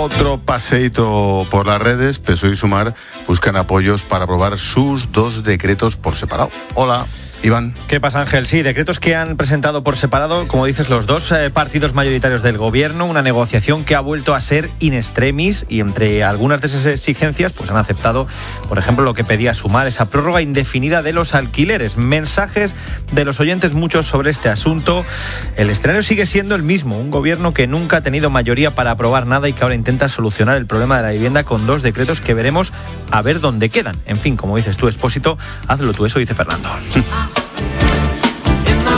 Otro paseíto por las redes. PSOE y Sumar buscan apoyos para aprobar sus 2 decretos por separado. Hola, Iván. ¿Qué pasa, Ángel? Sí, decretos que han presentado por separado, como dices, los 2 partidos mayoritarios del gobierno, una negociación que ha vuelto a ser in extremis, y entre algunas de esas exigencias pues han aceptado, por ejemplo, lo que pedía Sumar, esa prórroga indefinida de los alquileres. Mensajes de los oyentes muchos sobre este asunto. El escenario sigue siendo el mismo, un gobierno que nunca ha tenido mayoría para aprobar nada y que ahora intenta solucionar el problema de la vivienda con 2 decretos que veremos a ver dónde quedan. En fin, como dices tú, Expósito, hazlo tú, eso dice Fernando.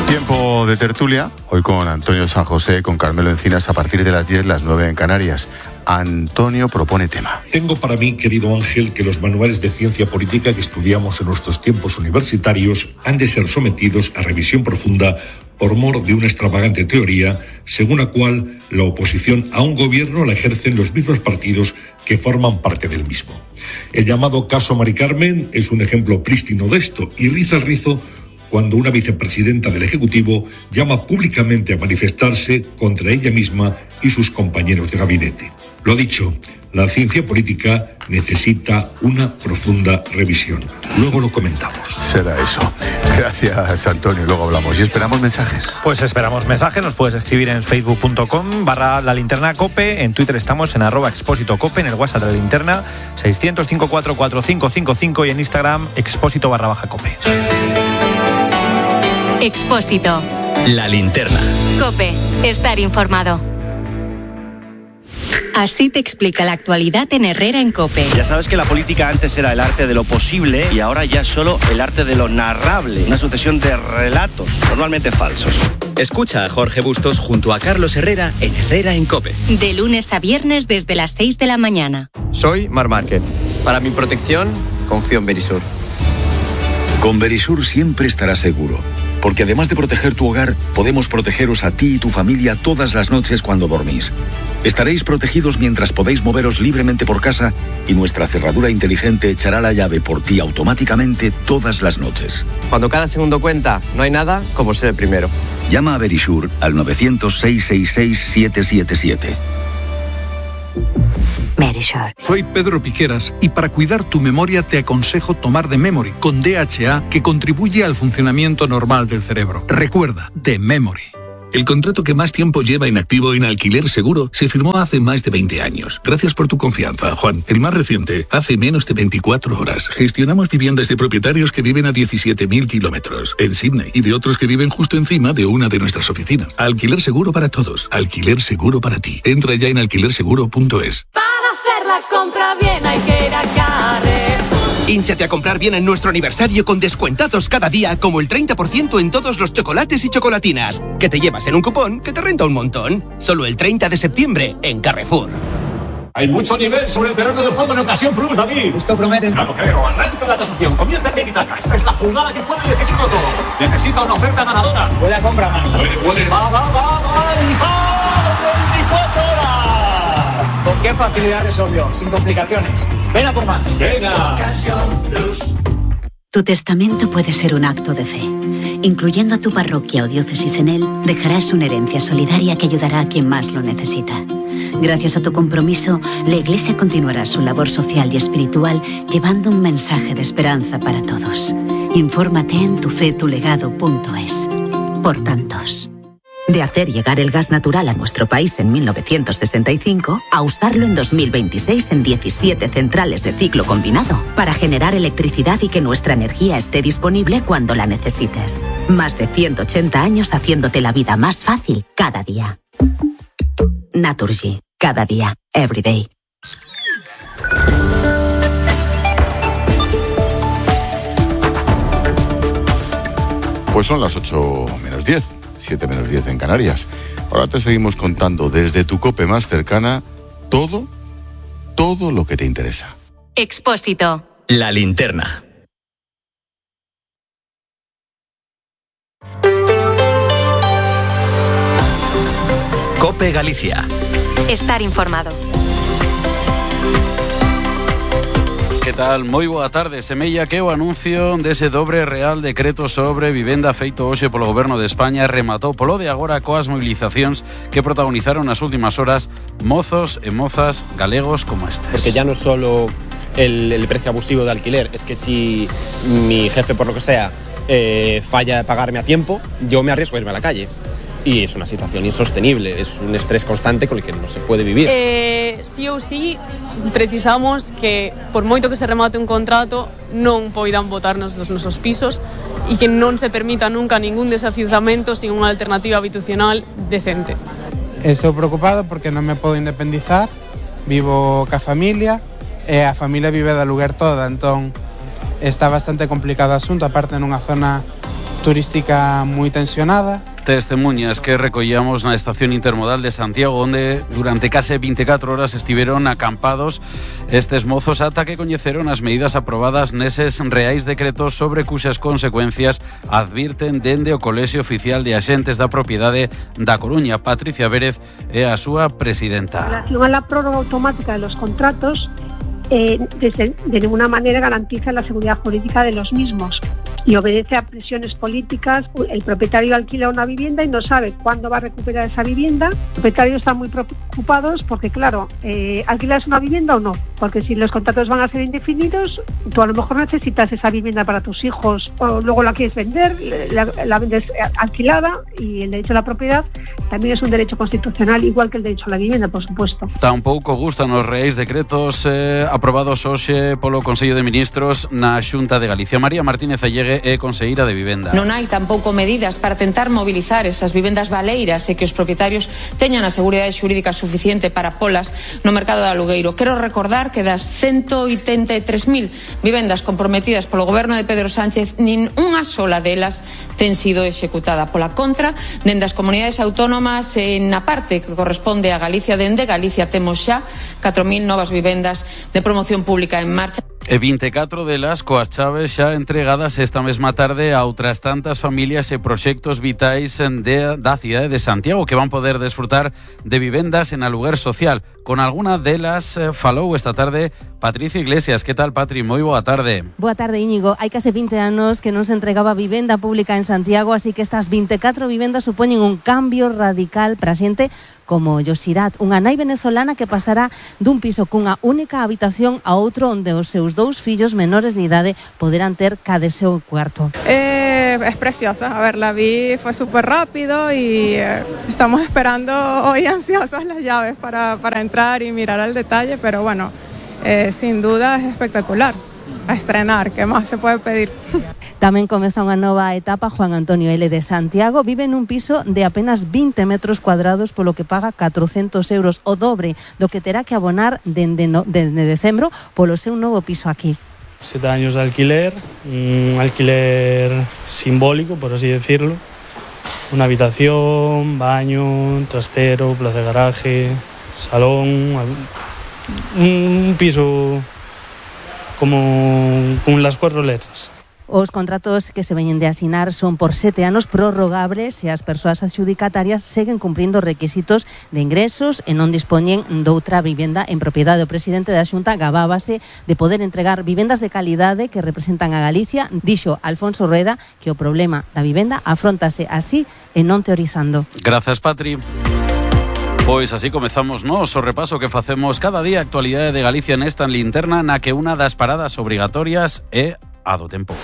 Tiempo de tertulia, hoy con Antonio San José, con Carmelo Encinas, a partir de las 10, las 9 en Canarias. Antonio propone tema. Tengo para mí, querido Ángel, que los manuales de ciencia política que estudiamos en nuestros tiempos universitarios han de ser sometidos a revisión profunda por mor de una extravagante teoría, según la cual la oposición a un gobierno la ejercen los mismos partidos que forman parte del mismo. El llamado caso Mari Carmen es un ejemplo prístino de esto, y riza el rizo cuando una vicepresidenta del Ejecutivo llama públicamente a manifestarse contra ella misma y sus compañeros de gabinete. Lo dicho, la ciencia política necesita una profunda revisión. Luego lo comentamos. Será eso. Gracias, Antonio. Luego hablamos. Y esperamos mensajes. Pues esperamos mensajes. Nos puedes escribir en facebook.com/lalinternacope. En Twitter estamos en @expósitocope. En el WhatsApp de la linterna 600-544-555. Y en Instagram expósito_cope. Expósito. La linterna. COPE. Estar informado. Así te explica la actualidad en Herrera en COPE. Ya sabes que la política antes era el arte de lo posible y ahora ya es solo el arte de lo narrable. Una sucesión de relatos, normalmente falsos. Escucha a Jorge Bustos junto a Carlos Herrera en Herrera en COPE. De lunes a viernes desde las 6 de la mañana. Soy Mar Márquez. Para mi protección, confío en Verisur. Con Verisur siempre estarás seguro. Porque además de proteger tu hogar, podemos protegeros a ti y tu familia todas las noches cuando dormís. Estaréis protegidos mientras podéis moveros libremente por casa y nuestra cerradura inteligente echará la llave por ti automáticamente todas las noches. Cuando cada segundo cuenta, no hay nada como ser el primero. Llama a Verisur al 900-666-777. Verisur. Soy Pedro Piqueras y para cuidar tu memoria te aconsejo tomar The Memory con DHA, que contribuye al funcionamiento normal del cerebro. Recuerda, The Memory. El contrato que más tiempo lleva inactivo en Alquiler Seguro se firmó hace más de 20 años. Gracias por tu confianza, Juan. El más reciente, hace menos de 24 horas. Gestionamos viviendas de propietarios que viven a 17.000 kilómetros en Sydney y de otros que viven justo encima de una de nuestras oficinas. Alquiler Seguro para todos. Alquiler Seguro para ti. Entra ya en alquilerseguro.es. Para hacer la compra bien hay que ir a Carrefour. Hínchate a comprar bien en nuestro aniversario con descuentazos cada día, como el 30% en todos los chocolates y chocolatinas, que te llevas en un cupón que te renta un montón. Solo el 30 de septiembre en Carrefour. Hay mucho nivel sobre el terreno de juego en Ocasión Plus, David. Esto promete. Claro, creo. Arranca la tasación. Comienza Tiki-Taka. Esta es la jugada que puede decidirlo todo. Necesita una oferta ganadora. Puede a compra más. Puede. Va. 24 horas. ¿Con qué facilidad resolvió? Sin complicaciones. Ven a por más. Venga. Tu testamento puede ser un acto de fe. Incluyendo a tu parroquia o diócesis en él, dejarás una herencia solidaria que ayudará a quien más lo necesita. Gracias a tu compromiso, la Iglesia continuará su labor social y espiritual llevando un mensaje de esperanza para todos. Infórmate en tufetulegado.es. Por tantos. De hacer llegar el gas natural a nuestro país en 1965 a usarlo en 2026 en 17 centrales de ciclo combinado para generar electricidad y que nuestra energía esté disponible cuando la necesites. Más de 180 años haciéndote la vida más fácil cada día. Naturgy. Cada día. Every day. Pues son las 8 menos 10. 7 menos 10 en Canarias. Ahora te seguimos contando desde tu COPE más cercana todo lo que te interesa. Expósito. La linterna. COPE Galicia. Estar informado. Que tal? Moi boa tarde. Semella que o anuncio dese dobre real decreto sobre vivenda feito hoxe polo Goberno de España rematou polo de agora coas mobilizacións que protagonizaron nas últimas horas mozos e mozas galegos como estes. Porque ya no es solo el precio abusivo de alquiler, es que si mi jefe, por lo que sea, falla de pagarme a tiempo, yo me arriesgo a irme a la calle. Y es una situación insostenible, es un estrés constante con el que no se puede vivir. Sí ou sí, precisamos que, por moito que se remate un contrato, non poidan botarnos dos nosos pisos e que non se permita nunca ningún desafiuzamento sin unha alternativa habitacional decente. Estou preocupado porque non me podo independizar, vivo ca familia e a familia vive de aluguer toda, entón está bastante complicado o asunto, aparte nunha zona turística moi tensionada. Testemunhas que recollamos na estación intermodal de Santiago, onde durante case 24 horas estiveron acampados estes mozos ata que coñeceron as medidas aprobadas neses reais decretos sobre cuxas consecuencias advirten dende o Colexio Oficial de Axentes da Propiedade da Coruña. Patricia Vérez é a súa presidenta. En relación a la prórroga automática de los contratos, de ninguna manera garantiza la seguridad jurídica de los mismos y obedece a presiones políticas. El propietario alquila una vivienda y no sabe cuándo va a recuperar esa vivienda. Los propietarios están muy preocupados porque, claro, ¿alquilas una vivienda o no? Porque si los contratos van a ser indefinidos, tú a lo mejor necesitas esa vivienda para tus hijos o luego la quieres vender, la vendes alquilada, y el derecho a la propiedad también es un derecho constitucional, igual que el derecho a la vivienda, por supuesto. Tampouco gustan os reais decretos aprobados hoxe polo Consello de Ministros na Xunta de Galicia. María Martínez Allegue é conselleira de Vivenda. Non hai tampouco medidas para tentar mobilizar esas vivendas baleiras e que os propietarios teñan a seguridade xurídica suficiente para polas no mercado de alugueiro. Quero recordar que das 183.000 vivendas comprometidas polo goberno de Pedro Sánchez, nin unha sola delas ten sido executada. Pola contra, dende as comunidades autónomas, na parte que corresponde a Galicia, dende Galicia temos xa 4.000 novas vivendas de promoción pública en marcha. E 24 delas coas chaves xa entregadas esta mesma tarde a outras tantas familias e proxectos vitais da cidade de Santiago que van poder desfrutar de vivendas en aluguer social. Con alguna delas falou esta tarde Patricia Iglesias. Que tal, Patri? Moi boa tarde. Boa tarde, Íñigo. Hai case 20 anos que non se entregaba vivenda pública en Santiago, así que estas 24 vivendas supoñen un cambio radical para a xente como Yosirat, unha nai venezolana que pasará dun piso cunha única habitación a outro onde os seus dous fillos menores de idade poderán ter cada seu cuarto. Es preciosa, a ver, la vi, fue súper rápido y estamos esperando hoy ansiosos las llaves para entrar y mirar al detalle, pero bueno, sin duda es espectacular. A estrenar, ¿qué más se puede pedir? Tamén comeza unha nova etapa. Juan Antonio L. de Santiago vive nun piso de apenas 20 metros cuadrados, polo que paga 400 euros, o dobre do que terá que abonar dende decembro polo seu novo piso aquí. 7 años de alquiler, un alquiler simbólico, por así decirlo. Una habitación, baño, trastero, plaza de garaje, salón, un piso como con las 4 letras. Os contratos que se veñen de asinar son por 7 anos prorrogables e as persoas adxudicatarias seguen cumprindo requisitos de ingresos e non dispoñen doutra vivenda en propiedade. O presidente da Xunta gabábase de poder entregar vivendas de calidade que representan a Galicia. Dixo Alfonso Rueda que o problema da vivenda afróntase así e non teorizando. Grazas, Patri. Pois así comezamos nós o repaso que facemos cada día a actualidade de Galicia nesta linterna na que unha das paradas obrigatorias é a do tempo.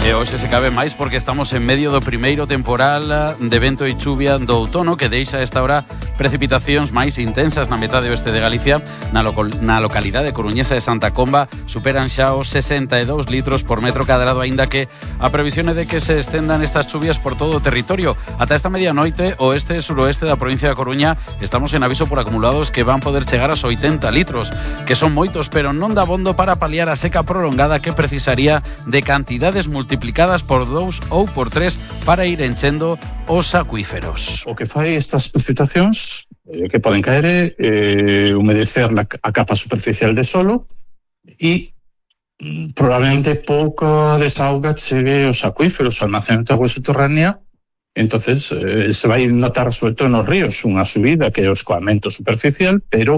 E hoxe se cabe máis porque estamos en medio do primeiro temporal de vento e chuvia do outono que deixa esta hora precipitacións máis intensas na metade oeste de Galicia. Na localidade coruñesa de Santa Comba superan xa os 62 litros por metro cadrado, aínda que a previsión é de que se estendan estas chuvias por todo o territorio. Ata esta medianoite, oeste e suroeste da provincia da Coruña estamos en aviso por acumulados que van poder chegar aos 80 litros, que son moitos, pero non dá bondo para paliar a seca prolongada que precisaría de cantidades multiplicadas por 2 ou por 3 para ir enchendo os acuíferos. O que fai estas precipitacións que poden caer humedecer a capa superficial de solo e probablemente pouca desauga chegue aos acuíferos, ao almacenamento de agua subterránea. Entonces se vai notar sobre todo nos ríos unha subida que é o escoamento superficial, pero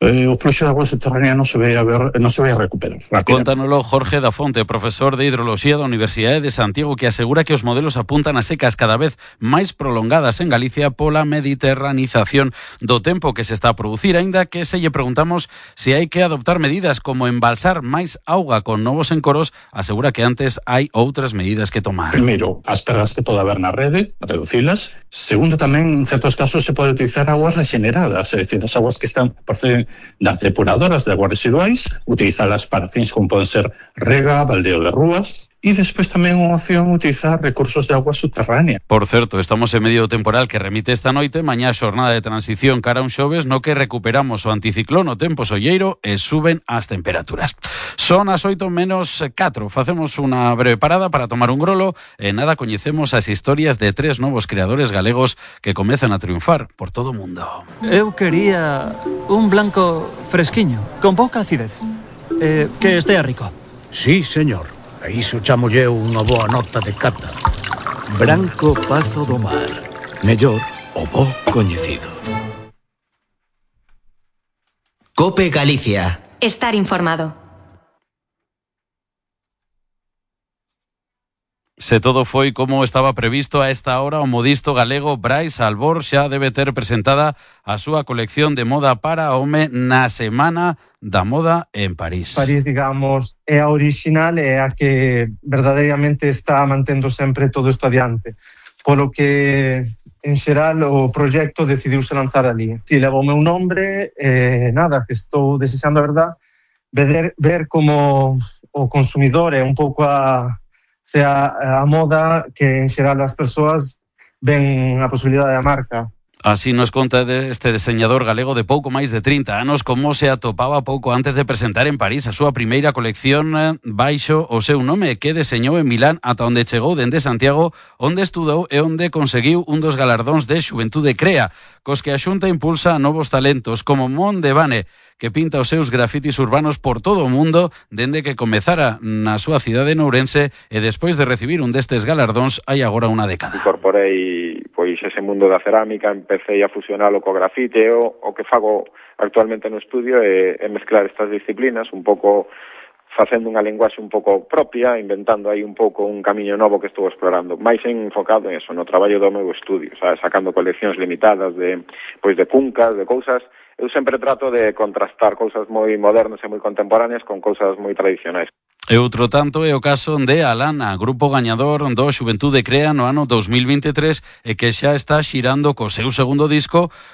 o fluxo de agua subterránea non se vai a recuperar. Contánoslo Jorge da Fonte, profesor de Hidroloxía da Universidade de Santiago, que asegura que os modelos apuntan a secas cada vez máis prolongadas en Galicia pola mediterranización do tempo que se está a producir, aínda que se lle preguntamos se hai que adoptar medidas como embalsar máis auga con novos encoros, asegura que antes hai outras medidas que tomar. Primeiro, as perdas que pode haber na rede, reducilas. Segundo, tamén en certos casos se pode utilizar aguas regeneradas, é dicir, as aguas que están proceden das depuradoras de aguas residuais, utilizalas para fins como poden ser rega, baldeo de rúas, e despois tamén unha opción utilizar recursos de agua subterránea. Por certo, estamos en medio do temporal que remite esta noite, mañá xornada de transición cara a un xoves no que recuperamos o anticiclón, o tempo solleiro e suben as temperaturas. Son as 8:04, facemos unha breve parada para tomar un grolo e nada coñecemos as historias de 3 novos creadores galegos que comezan a triunfar por todo o mundo. Eu quería un blanco fresquiño, con pouca acidez, que estea rico. Sí, señor. A iso chamolle unha boa nota de cata. Branco Pazo do Mar. Mellor o bo coñecido. COPE Galicia. Estar informado. Se todo foi como estaba previsto a esta hora, o modisto galego Brais Albor xa debe ter presentada a súa colección de moda para home na Semana da Moda en París. París, digamos, é a original e a que verdadeiramente está mantendo sempre todo isto adiante. Polo que, en xeral, o proxecto decidiuse lanzar ali. Si levo o meu nombre, nada, que estou desexando, a verdad, ver como o consumidor é un pouco sea a moda que en xeral as persoas ven a posibilidade da marca. Así nos conta este diseñador galego de pouco máis de 30 anos como se atopaba pouco antes de presentar en París a súa primeira colección baixo o seu nome, que deseñou en Milán ata onde chegou dende Santiago, onde estudou e onde conseguiu un dos galardóns de Xuventude Crea, cos que a Xunta impulsa a novos talentos como Mon de Bane, que pinta os seus grafitis urbanos por todo o mundo dende que comezara na súa cidade de Ourense e despois de recibir un destes galardóns hai agora unha década. Incorporei pois ese mundo da cerámica, empecé a fusionalo co grafite, o que fago actualmente no estudio é mezclar estas disciplinas, un pouco facendo unha linguaxe un pouco propia, inventando aí un pouco un camiño novo que estou explorando, máis enfocado en eso, no traballo do meu estudio, sacando coleccións limitadas de cuncas, de cousas. Eu sempre trato de contrastar cousas moi modernas e moi contemporáneas con cousas moi tradicionais. E outro tanto é o caso de Alana, grupo gañador do Xuventude Crea no ano 2023 e que xa está xirando co seu segundo disco